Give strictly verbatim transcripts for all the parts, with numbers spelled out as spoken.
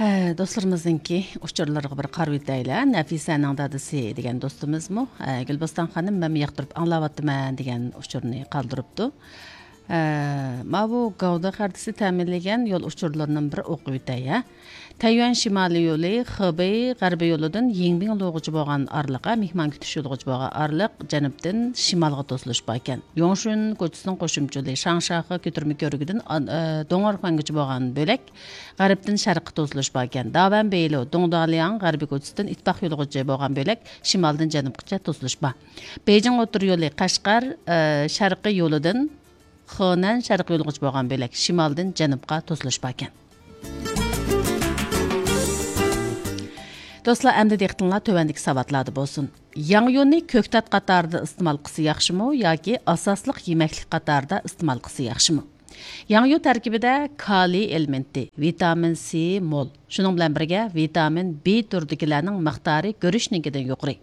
ھە، دوستلىرىمىزنىڭكى ئۇچۇرلىرىغا بىر قارىۋېتەيلى. نەفىسەنىڭ دادىسى دېگەن دوستىمىزمۇ، ھە، گۈلبوستان خانىم، مەنمۇ ياقتۇرۇپ ئاڭلاۋاتىمەن دېگەن ئۇچۇرنى قالدۇرۇپتۇ. ھە، ماۋۇ گاۋدا خەرىتىسى تەمىنلىگەن يول ئۇچۇرلىرىنىڭ بىر ئوقۇۋېتەي، ھە. تەييۈەن شىمالىي يولى خېبېي غەربىي يولىدىن يىڭبىڭلۇغىچە بولغان ئارىلىق، ھە، مېھمان كۈتۈش يولىغىچە بولغان ئارىلىق جەنۇبتىن شىمالغا توسۇلۇش باركەن. يوڭشۈن كوچىسىنىڭ قوشۇمچە يولى شاڭشياخې كۆتۈرمە كۆۋرۈكىدىن ئان-، ئە، دۇڭئېرخۇەنگىچە بولغان بۆلەك غەربتىن شەرققە توسۇلۇش باركەن. داۋەن بېيلۇ، دۇڭدالياڭ غەربىي كوچىسىدىن ئىتتىپاق يولىغىچە بولغان بۆلەك شىمالدىن جەنۇبقىچە توسۇلۇش بار. بېيجىڭ ئوتتۇرا يولى قەشقەر، ئە، شەرقىي يولىدىن خېنەن شەرقىي يولىغىچە بولغان بۆلەك شىمالدىن جەنۇبقا توسۇلۇش باركەن. دوستلار، ئەمدى دىققىتىڭلار تۆۋەندىكى ساۋاتلاردا بولسۇن. ياڭيۇنى كۆكتات قاتارىدا ئىستېمال قىلسا ياخشىمۇ ياكى ئاساسلىق يېمەكلىك قاتارىدا ئىستېمال قىلسا ياخشىمۇ؟ ياڭيۇ تەركىبىدە كالىي ئېلېمېنتى، ۋىتامىن سى مول، شۇنىڭ بىلەن بىرگە ۋىتامىن بى تۈرىدىكىلەرنىڭ مىقدارى گۈرۈچنىڭكىدىن يۇقىرى.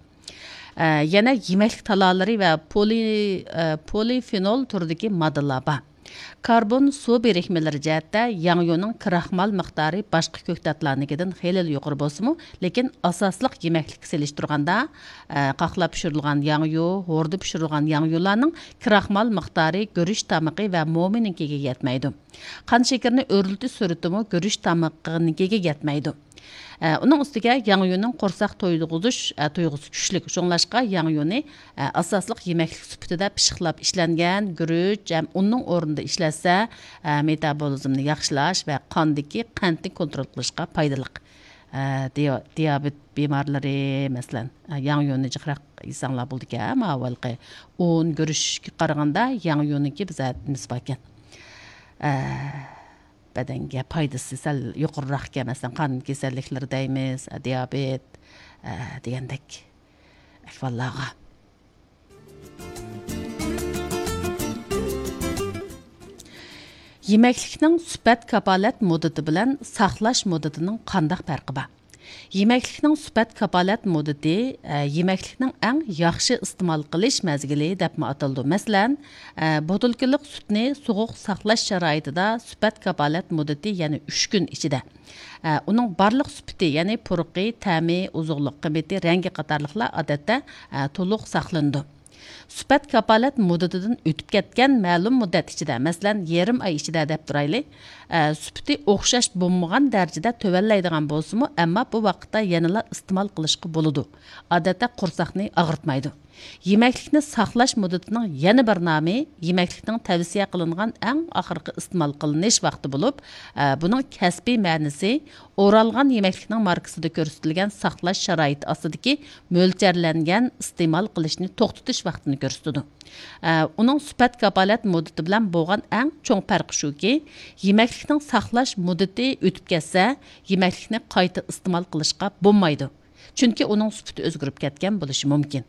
ئە، يەنە يېمەكلىك تالالىرى ۋە پولى-، ئە، پولىفېنول تۈرىدىكى ماددىلار بار. كاربون، سۇ بىرىكمىلىرى جەھەتتە ياڭيۇنىڭ كراخمال مىقدارى باشقا كۆكتاتلارنىڭكىدىن خېلىلا يۇقىرى بولسىمۇ، لېكىن ئاساسلىق يېمەكلىككە سېلىشتۇرغاندا، ئە، قاقلاپ پىشۇرۇلغان ياڭيۇ، ھوردا پىشۇرۇلغان ياڭيۇلارنىڭ كراخمال مىقدارى گۈرۈچ تامىقى ۋە مومىنىڭكىگە يەتمەيدۇ. قان شېكىرىنى ئۆرلىتىش سۈرئىتىمۇ گۈرۈچ تامىقىنىڭكىگە يەتمەيدۇ. ئە، ئۇنىڭ ئۈستىگە ياڭيۇنىڭ قورساق تويدۇرغۇزۇش، ئە، تۇيغۇسى كۈچلۈك. شۇڭلاشقا ياڭيۇنى، ئە، ئاساسلىق يېمەكلىك سۈپىتىدە پىششىقلاپ ئىشلەنگەن گۈرۈچ ھەم ئۇننىڭ ئورنىدا ئىشلەتسە، ئە، مېتابولىزمنى ياخشىلاش ۋە قاندىكى قەنتنى كونترول قىلىشقا پايدىلىق. ئە، دىيا-، دىيابېت بىمارلىرى، مەسىلەن، ئە، ياڭيۇنى جىقراق يېسەڭلار بولىدىكەن. ماۋۇ ھېلىقى ئۇن، گۈرۈچكە قارىغاندا ياڭيۇنىڭكى بىزە نېمىسى باركەن. ئە، بەدەنگە پايدىسى سەل يۇقىرىراق ئىكەن، مەسىلەن، قان كېسەللىكلىرى دەيمىز، دىيابېت، ئە، دېگەندەك ئەھۋاللارغا. يېمەكلىكنىڭ سۈپەت كاپالەت مۇددىتى بىلەن ساقلاش مۇددىتىنىڭ قانداق پەرقى بار؟ يېمەكلىكنىڭ سۈپەت كاپالەت مۇددىتى، ئە، يېمەكلىكنىڭ ئەڭ ياخشى ئىستېمال قىلىش مەزگىلى دەپمۇ ئاتىلىدۇ. مەسىلەن، ئە، بوتۇلكىلىق سۈتنى سوغۇق ساقلاش شارائىتىدا سۈپەت كاپالەت مۇددىتى يەنە ئۈچ كۈن ئىچىدە. ئە، ئۇنىڭ بارلىق سۈپىتى، يەنى پۇرىقى، تەمى، ئوزۇقلۇق قىممىتى، رەڭگى قاتارلىقلار ئادەتتە، ئە، تولۇق ساقلىنىدۇ. سۈپەت كاپالەت مۇددىتىدىن ئۆتۈپ كەتكەن مەلۇم مۇددەت ئىچىدە، مەسىلەن، يېرىم ئاي ئىچىدە دەپ تۇرايلى، ئە، سۈپىتى ئوخشاش بولمىغان دەرىجىدە تۆۋەنلەيدىغان بولسىمۇ، ئەمما بۇ ۋاقىتتا يەنىلا ئىستېمال قىلىشقا بولىدۇ. ئادەتتە قورساقنى ئاغرىتمايدۇ. يېمەكلىكنى ساقلاش مۇددىتىنىڭ يەنە بىر نامى يېمەكلىكنىڭ تەۋسىيە قىلىنغان ئەڭ ئاخىرقى ئىستېمال قىلىنىش ۋاقتى بولۇپ، ئە، بۇنىڭ كەسپىي مەنىسى ئورالغان يېمەكلىكنىڭ ماركىسىدا كۆرسىتىلگەن ساقلاش شارائىتى ئاستىدىكى مۆلچەرلەنگەن ئىستېمال قىلىشنى توختىتىش ۋاقتىنى كۆرسىتىدۇ. ئە، ئۇنىڭ سۈپەت كاپالەت مۇددىتى بىلەن بولغان ئەڭ چوڭ پەرقى شۇكى، يېمەكلىكنىڭ ساقلاش مۇددىتى ئۆتۈپ كەتسە، يېمەكلىكنى قايتا ئىستېمال قىلىشقا بولمايدۇ. چۈنكى ئۇنىڭ سۈپىتى ئۆزگىرىپ كەتكەن بولۇشى مۇمكىن.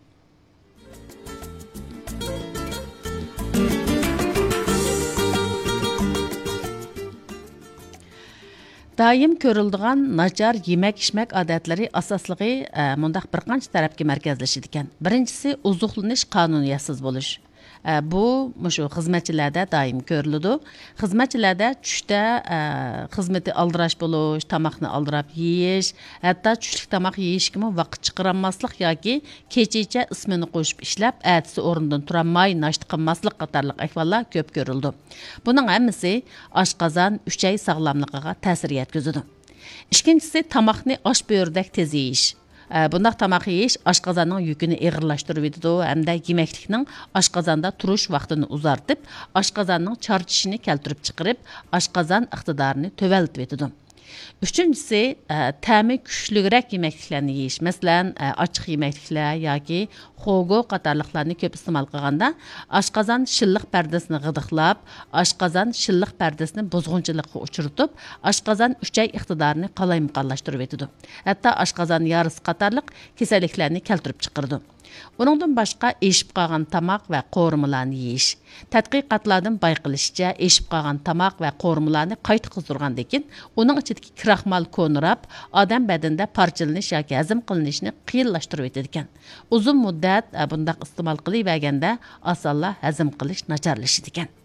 دائىم كۆرۈلىدىغان ناچار يېمەك-ئىچمەك ئادەتلىرى ئاساسلىقى، ئە، مۇنداق بىر قانچە تەرەپكە مەركەزلىشىدىكەن. بىرىنچىسى، ئوزۇقلىنىش قانۇنىيەتسىز بولۇش. ئە، بۇ مۇشۇ خىزمەتچىلەردە دائىم كۆرۈلىدۇ. خىزمەتچىلەردە چۈشتە، ئە، خىزمىتى ئالدىراش بولۇش، تاماقنى ئالدىراپ يېيىش، ھەتتا چۈشلۈك تاماق يېيىشكىمۇ ۋاقىت چىقىرالماسلىق ياكى كېچىچە ئىسمىنى قوشۇپ ئىشلەپ، ئەتىسى ئورنىدىن تۇرالماي ناشتا قىلماسلىق قاتارلىق ئەھۋاللار كۆپ كۆرۈلىدۇ. بۇنىڭ ھەممىسى ئاشقازان، ئۈچەي ساغلاملىقىغا تەسىر يەتكۈزىدۇ. ئىككىنچىسى، تاماقنى ئاش بۆرىدەك تېز يېيىش. ئە، بۇنداق تاماق يېيىش ئاشقازاننىڭ يۈكىنى ئېغىرلاشتۇرۇۋېتىدۇ ھەمدە يېمەكلىكنىڭ ئاشقازاندا تۇرۇش ۋاقتىنى ئۇزارتىپ، ئاشقازاننىڭ چارچىشىنى كەلتۈرۈپ چىقىرىپ، ئاشقازان ئىقتىدارىنى تۆۋەنلىتىۋېتىدۇ. ئۈچىنچىسى، ئە، تەمى كۈچلۈكرەك يېمەكلىكلەرنى يېيىش. مەسىلەن، ئە، ئاچچىق يېمەكلىكلەر ياكى خوگو قاتارلىقلارنى كۆپ ئىستېمال قىلغاندا، ئاشقازان شىللىق پەردىسىنى غىدىقلاپ، ئاشقازان شىللىق پەردىسىنى بۇزغۇنچىلىققا ئۇچرىتىپ، ئاشقازان ئۈچەي ئىقتىدارىنى قالايمىقانلاشتۇرۇۋېتىدۇ. ھەتتا ئاشقازان يارىسى قاتارلىق كېسەللىكلەرنى كەلتۈرۈپ چىقىرىدۇ. ئۇنىڭدىن باشقا، ئېشىپ قالغان تاماق ۋە قورۇمىلارنى يېيىش. تەتقىقاتلاردىن بايقىلىشىچە، ئېشىپ قالغان تاماق ۋە قورۇمىلارنى قايتا قىزدۇرغاندىن كېيىن، ئۇنىڭ ئىچىدىكى كراخمال كونىراپ، ئادەم بەدىنىدە پارچىلىنىش ياكى ھەزىم قىلىنىشىنى قىيىنلاشتۇرۇۋېتىدىكەن. ئۇزۇن مۇددەت، ئە، بۇنداق ئىستېمال قىلىۋەرگەندە، ئاسانلا ھەزىم قىلىش ناچارلىشىدىكەن.